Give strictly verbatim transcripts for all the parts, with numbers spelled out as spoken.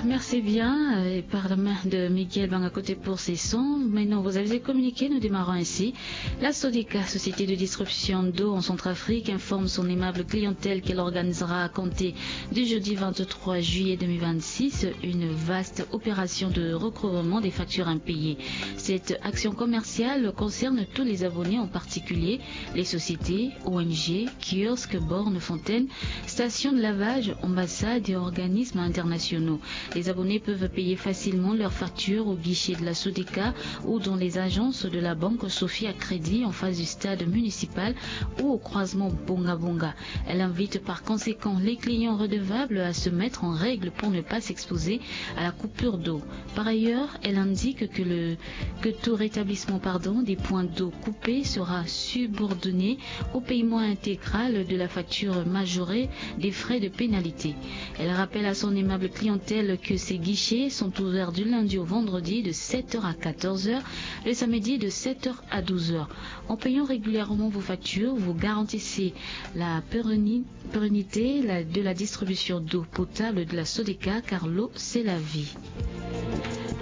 Merci bien, euh, et par la main de Miguel Bangakote pour ces sons. Maintenant, vous avez communiqué, nous démarrons ainsi. La Sodeka, société de distribution d'eau en Centrafrique, informe son aimable clientèle qu'elle organisera à compter du jeudi vingt-trois juillet deux mille vingt-six une vaste opération de recouvrement des factures impayées. Cette action commerciale concerne tous les abonnés, en particulier les sociétés, O N G, kiosques, bornes, fontaines, stations de lavage, ambassades et organismes internationaux. Les abonnés peuvent payer facilement leurs factures au guichet de la Sodeka ou dans les agences de la banque Sophie à Crédit en face du stade municipal ou au croisement Bonga Bonga. Elle invite par conséquent les clients redevables à se mettre en règle pour ne pas s'exposer à la coupure d'eau. Par ailleurs, elle indique que le, que tout rétablissement, pardon, des points d'eau coupés sera subordonné au paiement intégral de la facture majorée des frais de pénalité. Elle rappelle à son aimable clientèle que ses guichets sont ouverts du lundi au vendredi de sept heures à quatorze heures, le samedi de sept heures à douze heures. En payant régulièrement vos factures, vous garantissez la pérenni-, pérennité, la, de la distribution d'eau potable de la Sodeka, car l'eau, c'est la vie.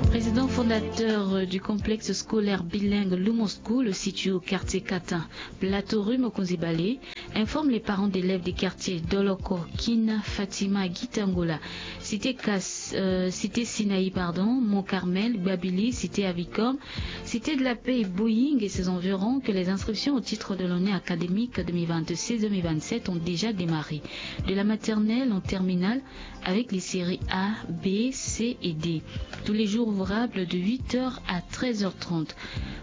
Président fondateur du complexe scolaire bilingue Lumon School, situé au quartier Katin, Plateau rue Mokonzi Bale, informe les parents d'élèves des quartiers Doloko, Kina, Fatima, Gitangola, Cité Kas-, euh, Cité Sinaï, pardon, Mont Carmel, Gbabili, Cité Avicom, Cité de la Paix, Boeing et ses environs que les inscriptions au titre de l'année académique deux mille vingt-six deux mille vingt-sept ont déjà démarré, de la maternelle en terminale, avec les séries A, B, C et D, tous les jours ouvrables de huit heures à treize heures trente.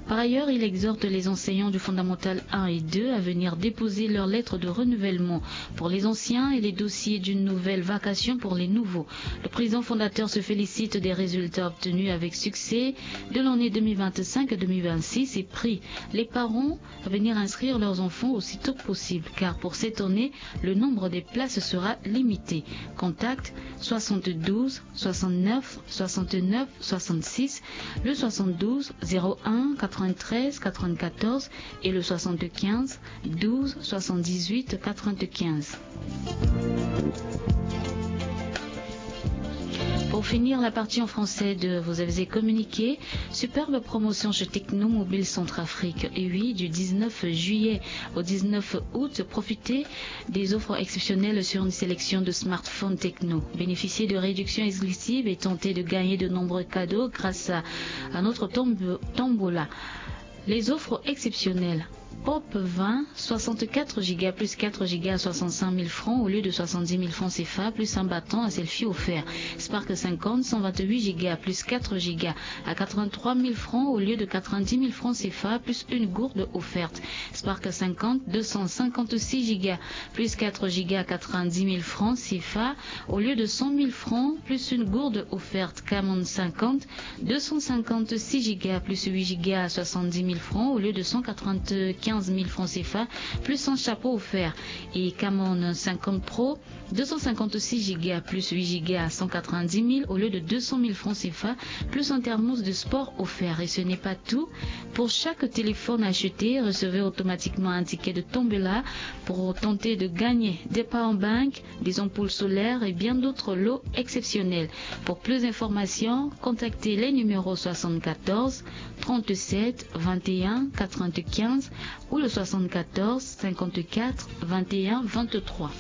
Par ailleurs, il exhorte les enseignants du fondamental un et deux à venir déposer leur lettre de renouvellement pour les anciens et les dossiers d'une nouvelle vacation pour les nouveaux. Le président fondateur se félicite des résultats obtenus avec succès de l'année deux mille vingt-cinq deux mille vingt-six et prie les parents à venir inscrire leurs enfants aussitôt que possible, car pour cette année, le nombre des places sera limité. Contact soixante-douze soixante-neuf soixante-neuf soixante-six, le soixante-douze zéro un quatre-vingt-treize quatre-vingt-quatorze et le soixante-quinze douze soixante-dix-huit quatre-vingt-quinze. Pour finir la partie en français de Vous avez communiqué, superbe promotion chez Technomobile Centrafrique. Et oui, du dix-neuf juillet au dix-neuf août, profitez des offres exceptionnelles sur une sélection de smartphones Tecno. Bénéficiez de réductions exclusives et tentez de gagner de nombreux cadeaux grâce à, à notre tomb-, tombola. Les offres exceptionnelles. Pop vingt, soixante-quatre giga plus quatre giga à soixante-cinq mille francs au lieu de soixante-dix mille francs C F A plus un battant à selfie offert. Spark cinquante, cent vingt-huit giga plus quatre giga à quatre-vingt-trois mille francs au lieu de quatre-vingt-dix mille francs C F A plus une gourde offerte. Spark cinquante, deux cent cinquante-six giga plus quatre giga à quatre-vingt-dix mille francs C F A au lieu de cent mille francs plus une gourde offerte. Camon cinquante, deux cent cinquante-six giga plus huit giga à soixante-dix mille francs au lieu de cent quatre-vingt-quinze mille francs C F A plus un chapeau offert. Et Camon cinquante Pro, deux cent cinquante-six giga plus huit giga à cent quatre-vingt-dix mille au lieu de deux cent mille francs C F A plus un thermos de sport offert. Et ce n'est pas tout. Pour chaque téléphone acheté, recevez automatiquement un ticket de tombola pour tenter de gagner des power banks, des ampoules solaires et bien d'autres lots exceptionnels. Pour plus d'informations, contactez les numéros soixante-quatorze trente-sept vingt et un quatre-vingt-quinze ou le soixante-quatorze cinquante-quatre vingt et un vingt-trois.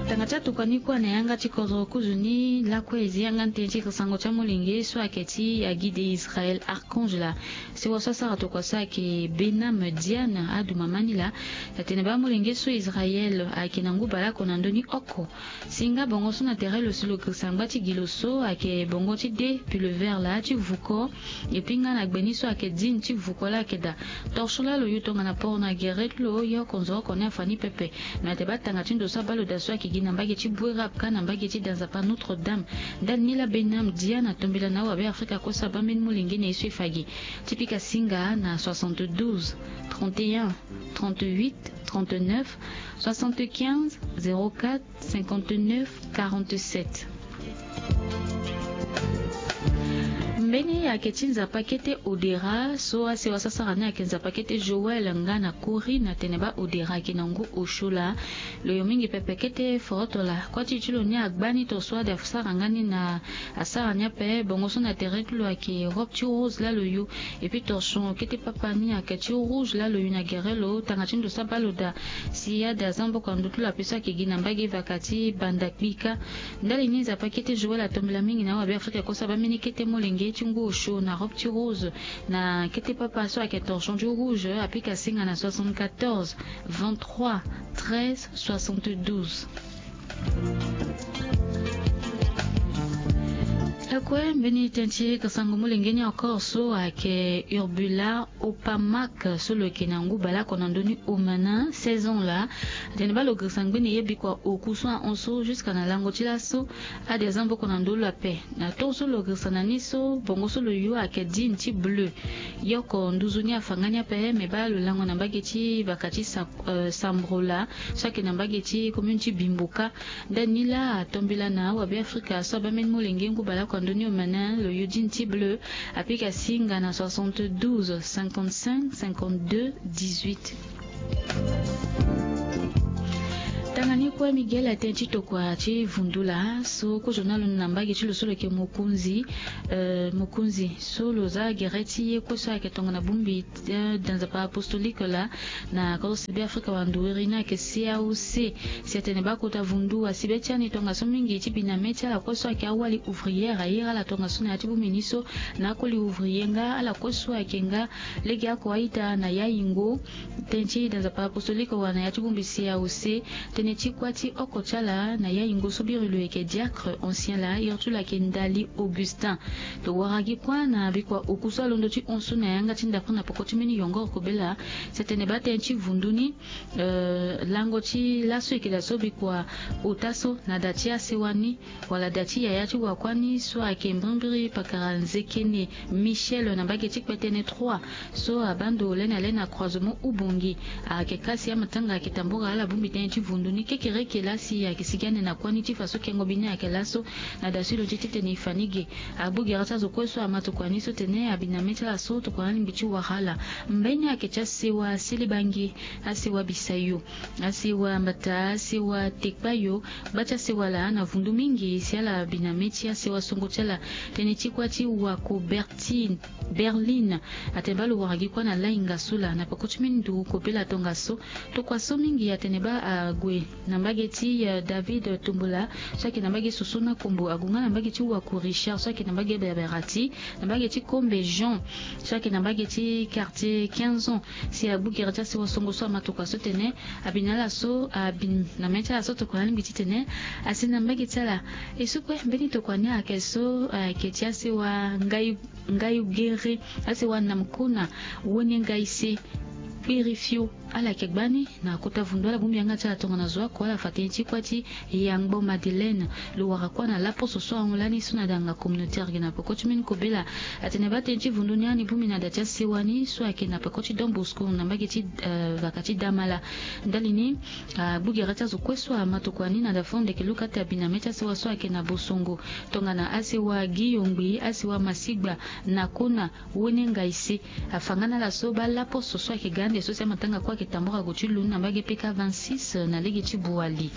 Tanga ti atokua ni kue na yanga ti kodro kuzu ni lakue e zi yanga tënë ti sango ti amolenge so ayeke ti agide Israël Archange laa. Sewa so asara tokua so ayeke Benam Diane aduma ma ni laa. Atene baa amolenge so Israël ayeke na ngu baleoko na ndö ni oko. Si nga bongo so na tere lo si lo girisa ngba ti gi lo so ayeke bongo ti de pullover laa ti vuko. Et puis nga na gbe ni so ayeke jean ti vuko laa ayeke daa. Torchon laa lo yu tongana poro na gere ti lo ye oko nzoni oko ni afa ni pepe. Me ate baa tanga ti ndo so abaa lo daa so ayeke gi na mbage ti Bouérab ka na mbage ti da Nzapa Notre-Dame. Ndani ni laa Benam Diane atombela na awabe Afrika kue so abaa mbeni molenge na ye so e fa gi. Ti pika singa na soixante-douze trente et un trente-huit trente-neuf soixante-quinze zéro quatre cinquante-neuf quarante-sept. Mbeni ayeke ti nzapa kete Odera so asewa so asara ni ayeke nzapa kete Joël nga na Corinne atene baa Odera ayeke na ngu osio laa. Lo yo mingi pepe kete foroto laa. Kuâ ti e ti lo ni agba ni tongaso ade asara nga ni na asara ni ape bongo so na tere ti lo ayeke robe ti rose laa lo yo. Epui torchon kete papa ni ayeke ti rouge laa lo yo na gere lo tanga ti ndo so abaa lo daa. Si ade aza maboko na ndo ti lo ape so ayeke gi na mbage vaka ti banda kpika. Ndali ni nzapa kete Joël atombela mingi na awabe Afrika kue so abaa mbeni kete molenge ti ngu osio na robe ti rose na kete papa so ayeke torchon ti rouge apika singa na soixante-quatorze vingt-trois treize soixante-douze. Akue mbeni tënë ti kasango molenge ni encore so ayeke Urbula Opamak so lo yeke na ngu baleoko na ndö ni Omana seize ans laa. Atene baa lo girisa ngbene ye bikua oku so ahon so jusque na lango ti laso. Ade aza maboko na ndö lo ape na tongaso lo girisa na ni so bongo so lo yo ayeke digne ti bleu. Ye oko nduzu ni afa nga ni ape me baa lo lango na mbage ti vaka ti Sa- euh, Sambrola so ayeke na mbage ti commune ti Bimboka. Ndani laa atombela na awabe Afrika so abaa mbeni molenge ngu baleoko na ndö ni Omana lo yo digne ti bleu. Apika singa na soixante-douze cinquante-cinq cinquante-deux dix-huit. Tanga ni kue Miguel atene ti tokua ti vundu laa so kozo ni alondo na mbage ti lo so lo yeke Mokonzi. Euh, Mokonzi so lo za gere ti ye kue so ayeke tongana bongbi, euh, da nzapa apostolique laa na kodro si be Afrika wala ndo wiri ni ayeke C A O C. Si atene baa kota vundu asi be ti ani tongaso mingi ti bi na mê ti ala kue so ayeke awali ouvrière aye ira ala tongaso na ya ti bongbi ni so na akoli ouvrier nga ala kue so ayeke nga lege oko a-ita na yayingo. Tënë ti da nzapa apostolique wala na ya ti bongbi C A O C. Tënë ti kuâ ti oko ti ala na yayingo so biri lo yeke diacre ancien laa iri ti lo ayeke Ndali Augustin. Lo wara gi kuâ na bikua oku so alondo ti hon so na yanga ti ndapre na peko ti mbeni yongoro kobela. Si atene baa tënë ti vundu ni, euh, lango ti laso eke daa so bikua ota so na da ti asewa ni wala da ti yaya ti wakuâ ni so ayeke mbirimbiri pakara Nzekene Michel na mbage ti Kpetene trois so abaa ndo lani ale na croisement Ubongi. Ayeke ka si amatanga ayeke tambora ala bongbi tënë ti vundu ni kekereke laa si ayeke sigi ande na kuâ ni ti fa so kengo bi ni ayeke laso. Na da so e lo ti titene e fa ni ge. Agbu gere ti azo kue so ama tokua ni so tene abi na mê ti ala so tokua na alingbi ti wara ala. Mbeni ayeke ti asewa Selebange, asewa Bisayo, asewa Mbata, asewa Tekpayo, gba ti asewa laa na vundu mingi si ala bi na mê ti asewa songo ti ala. Tënë ti kuâ ti wako Bertine Berline atene baa lo wara gi kuâ na lainga so laa na peko ti mbeni nduru kobela tongaso. Tokua so mingi atene baa ague na mbage ti, eh, David Tombola so ayeke na mbage Soso na Kombo, ague nga na mbage ti wako Richard so ayeke na mbage Berberati, na mbage ti Kombe Jean so ayeke na mbage ti quartier quinze ans. Si agbu gere ti asewa songo so ama tokua so tene abi na ala so abi na mê ti ala so tokua na alingbi titene asi na mbage ti ala. E so kue mbeni tokua ni ayeke so ayeke ti asewa Ngai Ngai Gere, asewa Namkona, Wene Ngai Se, Kpirifio. Ala yeke gba ni na kota vundu ala bongbi yanga ti ala tongana zo oko ala fa tënë ti kuâ ti Yangbo Madeleine. Lo wara kuâ na laposo so ahon lani so na danga communautaire ge na peko ti mbeni kobela. Atene baa tënë ti vundu ni ani bongbi na da ti asewa ni so ayeke na peko ti Don Bosco na mbage ti, eh, vaka ti Damala. Ndali ni agbu gere ti azo kue so ama tokua ni na da fo ndeke luka ti abi na mê ti asewa so ayeke na Bosongo tongana asewa Guillaume Ngbi, asewa Masigba, Nakona, Wene Ngai Se. Afa nga na ala so baa laposo so ayeke ga ande so si amatanga kue ayeke tambora gue ti lun na mbage P K vingt-six na lege ti Boali.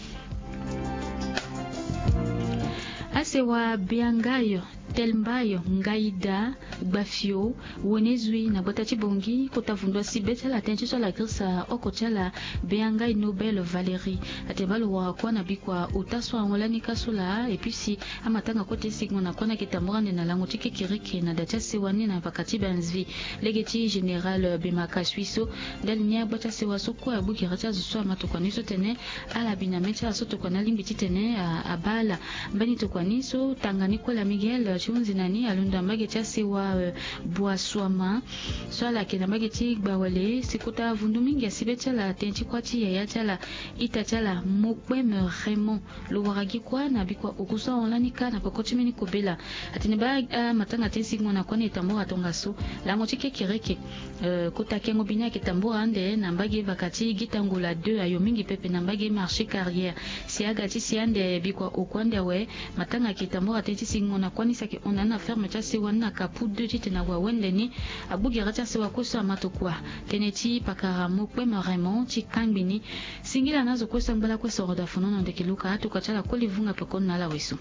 Asewa Biangayo, Telmbayo, Ngaida, Gbafio, Wene Zui na gbata ti Bongi, kota vundu asi be ti ala tënë ti so ala girisa oko ti ala Biangai Nobel Valérie. Atene baa lo wara kuâ na bikua ota so ahon lani ka so laa, et puis si amatanga kue ti singo na kuâ ni ayeke tambora ande na lango ti kekereke na da ti asewa ni na vaka ti Banzvi, lege ti général Bemaka Suiso. Ndali ni agba ti asewa so kue agbu gere ti azo so ama tokua ni so tene ala bi na mê ti ala so tokua ni alingbi titene a, abaa ala. Mbeni tokua ni so tanga ni kue laa Miguel ti hunzi na ni alondo na mbage ti asewa, eh, Boasuama so ala yeke na mbage ti Gbawale. Si kota vundu mingi asi be ti ala tënë ti kuâ ti yaya ti ala, ita ti ala Mokpeme Raymond. Lo wara gi kuâ na bikua oku so ahon lani ka na peko ti mbeni kobela. Atene baa, ah, amatanga ti singo na kuâ ni e tambora tongaso lango ti kekereke. Eh, kota kengo bi ni ayeke tambora ande na mbage vaka ti Gitangola deux ayo mingi pepe na mbage marché carrière. Si aga ti si ande bikua oku ande awe, matanga ayeke tambora tënë ti singo na kuâ ni si Hon na ni na ferme ti asewa ni na kapu deux titene ague awende ni. Agbu gere ti asewa kue so ama tokua. Tënë ti pakara mokpeme Raymond ti kangbi ni. Singila na azo kue so angba lakue soro da fonono ndeke Luka atokua ti ala koli vunga pekoni na ala weso.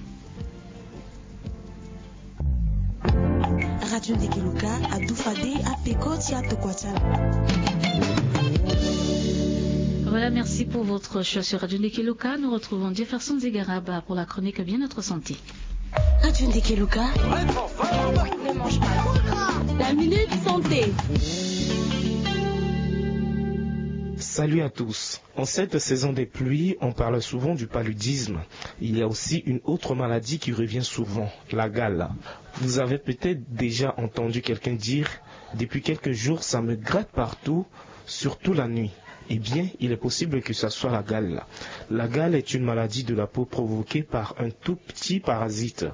Radio Ndeke Luka adu fade apeko ti atokua ti ala. Voilà, merci pour votre choix sur Radio Ndeke Luka. Nous retrouvons Jefferson Zigaraba pour la chronique Bien-être Santé. Radio Ndeke Luka. La minute santé. Salut à tous. En cette saison des pluies, on parle souvent du paludisme. Il y a aussi une autre maladie qui revient souvent, la gale. Vous avez peut-être déjà entendu quelqu'un dire : « Depuis quelques jours, ça me gratte partout, surtout la nuit. » Eh bien, il est possible que ça soit la gale. La gale est une maladie de la peau provoquée par un tout petit parasite.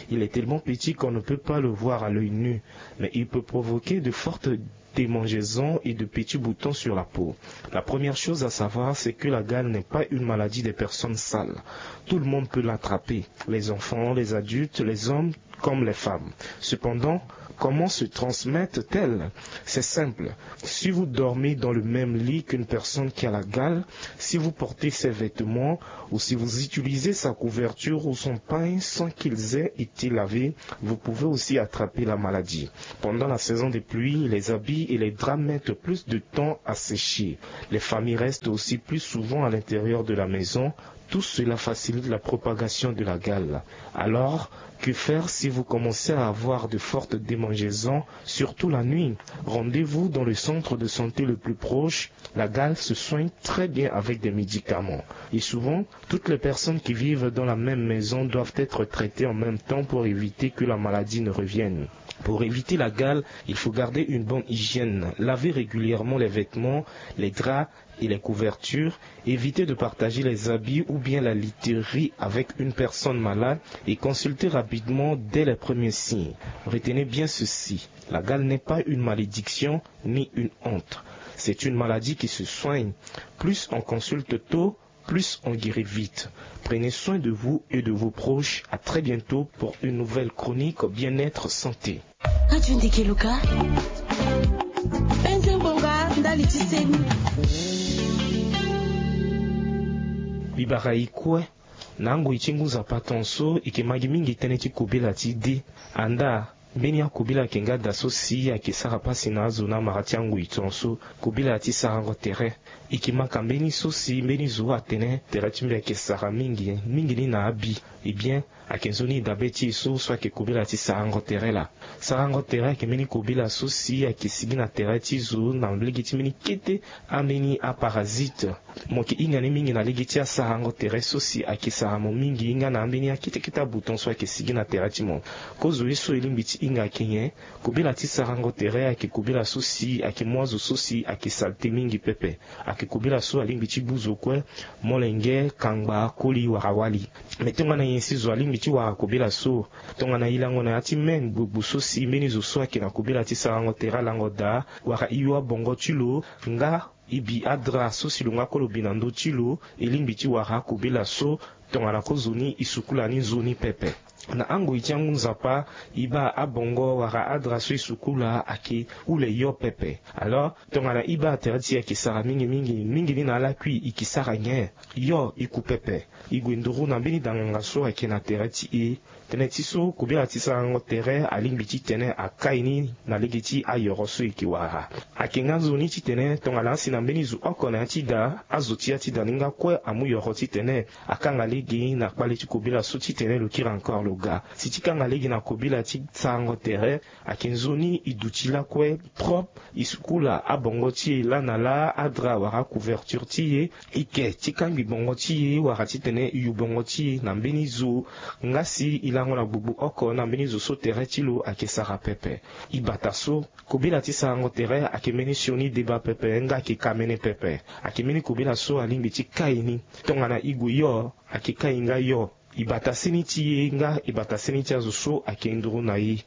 Il est tellement petit qu'on ne peut pas le voir à l'œil nu, mais il peut provoquer de fortes démangeaisons et de petits boutons sur la peau. La première chose à savoir, c'est que la gale n'est pas une maladie des personnes sales. Tout le monde peut l'attraper, les enfants, les adultes, les hommes comme les femmes. Cependant, comment se transmettent-elles ? C'est simple. Si vous dormez dans le même lit qu'une personne qui a la gale, si vous portez ses vêtements ou si vous utilisez sa couverture ou son pagne sans qu'ils aient été lavés, vous pouvez aussi attraper la maladie. Pendant la saison des pluies, les habits et les draps mettent plus de temps à sécher. Les familles restent aussi plus souvent à l'intérieur de la maison. Tout cela facilite la propagation de la gale. Alors, que faire si vous commencez à avoir de fortes démangeaisons, surtout la nuit ? Rendez-vous dans le centre de santé le plus proche. La gale se soigne très bien avec des médicaments. Et souvent, toutes les personnes qui vivent dans la même maison doivent être traitées en même temps pour éviter que la maladie ne revienne. Pour éviter la gale, il faut garder une bonne hygiène, laver régulièrement les vêtements, les draps et les couvertures, éviter de partager les habits ou bien la literie avec une personne malade et consulter rapidement dès les premiers signes. Retenez bien ceci, la gale n'est pas une malédiction ni une honte. C'est une maladie qui se soigne. Plus on consulte tôt, plus on guérit vite. Prenez soin de vous et de vos proches. À très bientôt pour une nouvelle chronique Bien-être Santé. Radio Ndeke Luka. Penze ngbonga ndali ti seni. Bibara e kue na angoi ti ngu nzapa tonso e ke ma gi mingi tënë ti kobela ti dé. Andaa, mbeni akobela ayeke nga da so si ayeke sara pasi na azo na amara ti angoi tonso. Kobela ti sarango tere. E ke ma ka mbeni so si mbeni zo atene tere ti mbi ayeke sara mingi, mingi ni na abi. Eh bien, ayeke nzoni dabe ti e so so ayeke kobela ti sarango tere laa. Sarango tere ayeke mbeni kobela so si ayeke sigi na tere ti zo na lege ti mbeni kete ambeni aparasite. Mo yeke hinga ni mingi na lege ti asarango tere so si ayeke sara mo mingi nga na ambeni akete kete abuton so ayeke sigi na tere ti mo. Kozo ye so e lingbi ti hinga ayeke nyen? Kobela ti sarango tere ayeke kobela so si ayeke mu azo so si ayeke salte mingi pepe. Ayeke kobela so alingbi ti gbu zo kue, molenge, kangba, koli wala wali. Me tongana nyen si zo alingbi ti wara kobela so? Tongana e lango na ya ti me gbogbo so si mbeni zo so ayeke na kobela ti sarango tere alango daa, wala e yo abongo ti lo, nga e bi adra so si lo nga kue lo bi na ndö ti lo, e lingbi ti wara akobela so. Tongana kozoni e sukula ni nzoni pepe. Na angoi ti angu nzapa, e baa abongo wala adra so e sukula ayeke hule yo pepe. Alors, tongana e baa tere ti e ayeke sara mingi mingi, mingi ni na alakui e ke sara nyen? Yo e ku pepe. E gue nduru na mbeni danganga so ayeke na tere ti e. Tënë ti so, kobela ti sarango tere alingbi titene akai ni na lege ti ayoro so e ke wara. Ayeke nga nzoni titene tongana asi na mbeni zo oko na ya ti da, azo ti ya ti da ni nga kue amu yoro titene akanga lege na kpale ti kobela so titene lo kiri encore lo ga. Si ti kanga lege na kobela ti sarango tere, ayeke nzoni e duti lakue propre, e sukula abongo ti e laa na laa, adra wala couverture ti e, e ke ti kangbi bongo ti e wala titene e yu bongo ti e na mbeni zo. Nga si e lango na gbogbo oko na mbeni zo so tere ti lo ayeke sara pepe. E bata so, kobela ti sarango tere ayeke mbeni sioni deba pepe nga ayeke kamene pepe. Ayeke mbeni kobela so alingbi ti kai ni. Tongana e gue yo, ayeke kai nga yo. E bata seni ti e nga e bata seni ti azo so ayeke nduru na e.